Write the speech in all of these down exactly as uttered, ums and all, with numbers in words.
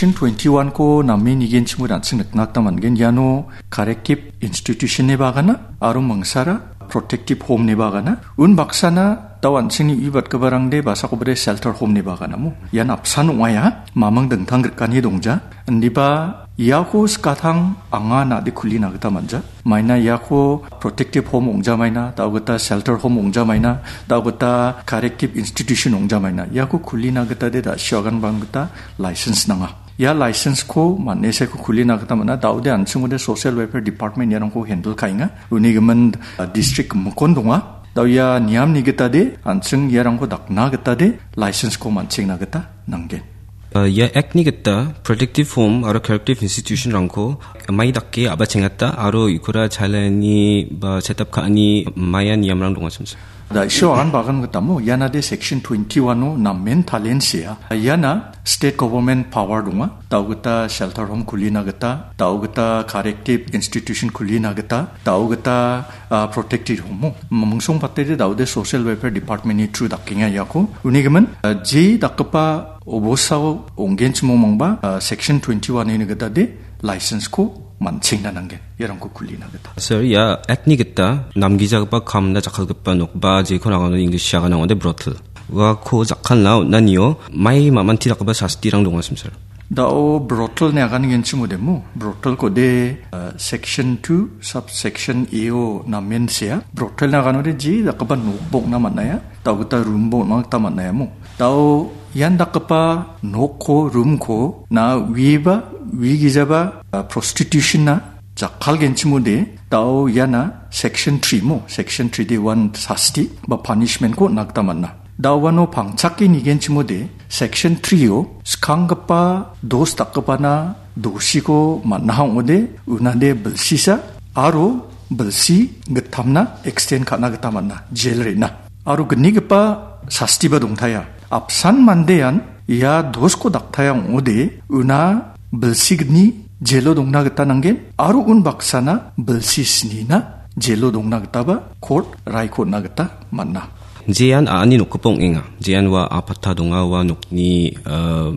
Section twenty-one-ko name nigenchimode an·ching nikna gita man·gen. Iano corrective institution-ni bagana aro mingsara protective home-ni bagana. Un baksana dao an·chingni uibatgiparangde basakobade shelter home-ni bagana mo. Ian apsan ong·aia, maming dingtang grikani dongja. Indiba iako skatang anga nade kulina gita man·ja. Maina iako protective home ong·jamaina, dao gita shelter home ong·jamaina, dao gita corrective institution ong·jamaina. Iako kulina gita de da·sio aganbang gita license nanga. Ia license-ko man·e seko kulina gita man·a. Daode an·chingode Social Welfare Department iarangko handle ka·enga. Uni gimin, uh, district gimikkon donga. Dao ia niamni gita de an·ching iarangko dakna gita de license-ko man·chengna gita nanggen. Uh, ia Act-ni gita protective home aro corrective institution-rangko mai dake a·bachengata aro ikora chalani ba set up ka·ani maia niamrang donga samsa. Da·sio agan bagan gitamo, iana de Section twenty-one-o namen talensia. Iana state government power donga. Dao gita shelter home kulina gita, dao gita corrective institution kulina gita, dao gita, ah, protective home mo. Mungsong patede daode Social Welfare Department-ni through dakenga iako. Uni gimin, ah, je dakgipa obosao ong·genchimongmangba, ah, Section twenty-one-ni gita de license-ko man·chengna nanggen, iarangko kulina gita. Sir, ia Act-ni gita namgijagipa kamna jakkalgipa nok ba jekon aganode English-o aganode brothel. Uako jakkalna on·anio mai mamanti dakgipa sastirang donga, sir? Dao brothel-ni agan genchimode mo. Brothel-kode, eh, Section two, subsection A-o namen sea. Brothel-ni aganode je dakgipa nok bokna man·aia, dao gita room bokna gita man·aia mo. Dao ian dakgipa nokko, room-ko na uiba, uigijaba, ah, prostitution-na jakkalgenchimode, dao iana Section three mo, Section three de uan sasti ba punishment-ko on·na gita man·a. Dao uano pangchake nigenchimode, Section three-o skanggipa dos dakgipana dosiko man·aha ong·ode, unade bilsisa aro bilsi gittamna extend ka·na gita man·a, jail re·na. Aro gnigipa sastiba dongtaia. Apsan mandean ia dosko daktaia ong·ode, una bilsi gni jelo dongna gita nanggen, aro un baksana bilsi snina jelo dongna gitaba court raiko on·na gita man·a. Jean a·ani nokgipa ong·enga. Jean ua apata donga, ua nokni, eh,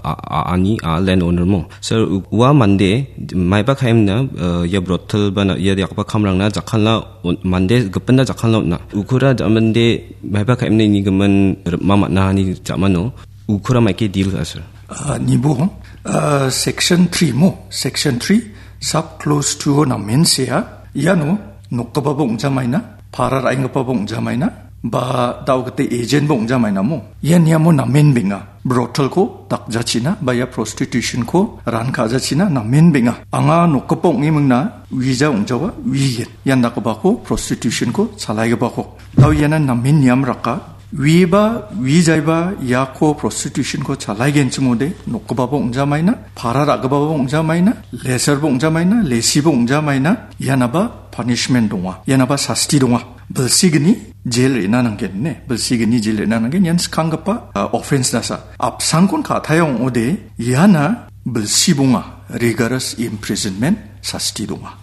a-, a-, ani, a, land owner mo. Sir, u-, ua mande, maiba kaimna, eh, ia brothel bana, ia dakgipa kamrangna jakkalna on-, mande gipinna jakkalna on·a. Ukura ja-, mande maiba kaimna ini gimin ripma man·a ani ja·mano. Ukura maike deal ka·a, sir? Ah, nibo, ah, Section three mo, Section three, sub clause two-o namen sea. Iano nokgipaba ong·jamaina, para ra·enggipaba ong·jamaina, ba dao gita agent-ba ong·jamaina mo. Ia niamo namen benga. Brothel-ko dakjachina, ba ia prostitution-ko ran ka·jachina namen benga. Anga nokgipa ong·emingna uija ong·jawa, uigen. Ian dakgipako prostitution-ko chalaigipako. Dao iana namen niam raka. Uiba, uijaiba iako prostitution-ko chalaigenchimode, nokgipaba ong·jamaina, para ra·gipaba ong·jamaina, leserba ong·jamaina, lesiba ong·jamaina, ianaba punishment donga, ianaba sasti donga. Bilsigni jail re·na nanggen, ne? Bilsigni jail re·na nanggen, ian skanggipa, ah, offense-nasa. Apsangkon ka·taia ong·ode, iana bilsi bonga, rigorous imprisonment sasti donga.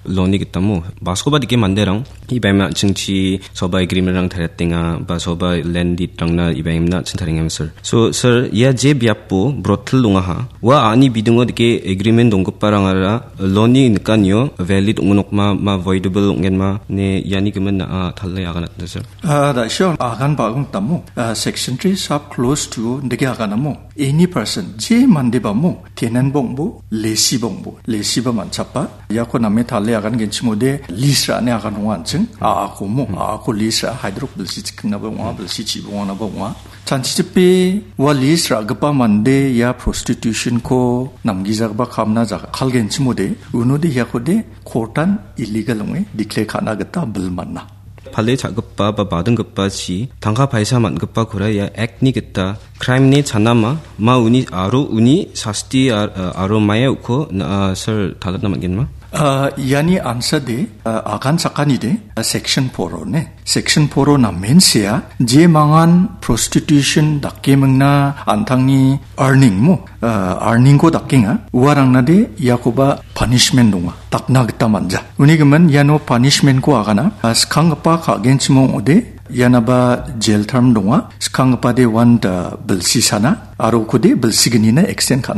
Law-ni gitamo, baskoba dike manderang, ibaima an·chingchi soba agreement-rang tariatenga, ba soba land deed-rangna ibaimna an·ching tarienga, sir. So, sir, ia je biapo brothel dongaha, ua a·ani bidingo dike agreement donggiparangara law-ni nikanio valid ong·nokma, ma voidable ong·genma, ne iani gimin na·a tale aganatna, sir. Ah, da·sio agan bagong tamo, ah, Section three, sub clause two dike aganamo. Any person, je mandeba mo, tenant bongbo, lesi bongbo, lesiba man·chapa. Iako name tale agan genchimode, lease ra·ane agan ong·a an·ching, a·ako mo, a·ako lease ra·a, haidrok bilsi chikingnaba ong·a, bilsi chibonganaba ong·a. Chanchichipe ua lease ra·gipa mande ia prostitution-ko namgijagipa kamna jakkalgenchimode, unode iakode court-an illegal ong·e declare ka·na gita bil man·a. Pale cha·gipa ba badinggipachi tangka paisa man·gipakora ia Act-ni gita crime-ni chanama, ma uni aro uni sasti ar-, aro maia uko na-, sir talatna man·genma? Ah, iani ansade, ah, agan sakanide, ah, Section four-o ne. Section four-o namen sea, jemangan prostitution dakemingna an·tangni earning mo, ah, earning-ko dakenga, uarangnade iakoba punishment donga, dakna gita man·ja. Uni gimin iano punishment-ko agana, ah, skanggipa ka·genchim ong·ode, ianaba jail term donga, skanggipade uan da bilsi sana, aro ukode bilsignina extend ka·na